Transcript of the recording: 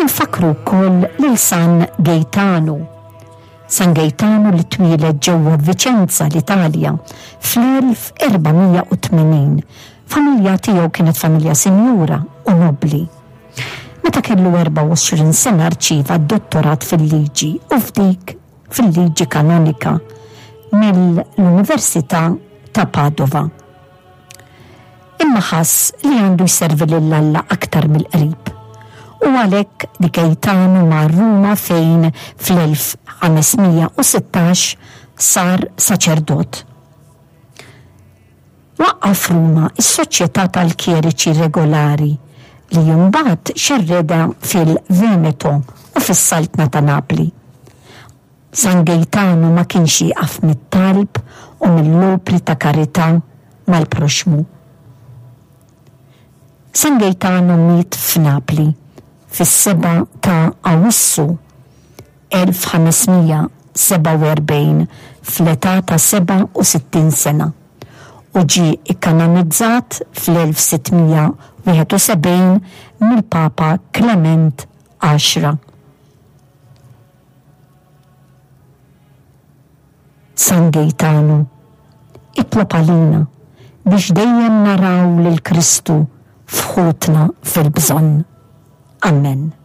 Infakkru wkoll lil San Gejtanu. San Gejtanu li twieled ġewwa Vicenza, l-Italja, fl-1480. Familja tiegħu kienet familja sinjura u nobbli. Meta kellu 24 sena rċieva d-dottorat fil-liġi u f'dik fil-liġi kanonika mill-Università ta' Padova. Imma ħass li għandu jservi lil Alla aktar mill-qrib. U għalhekk di Gaetano mar Ruma fejn fl-1516 sar saċerdot. Waqqaf f'Ruma s-Soċjetà tal-Kjeriċi Regolari li imbagħad xerredha fil-Veneto u fis-Saltna ta' Napli. San Gejtanu ma kienx jieqaf mit-talb u mill-opri ta' karità mal-proxxmu. San Gejtanu miet f'Napli fis-7 ta' Awwissu 1547 fl-età ta' 67 sena u ġie kkanonizzat fl-1671 mill-Papa Klement Għaxra. San Gejtanu, itlob għalina biex dejjem naraw lil Kristu f'ħutna fil-bżonn. Ammen.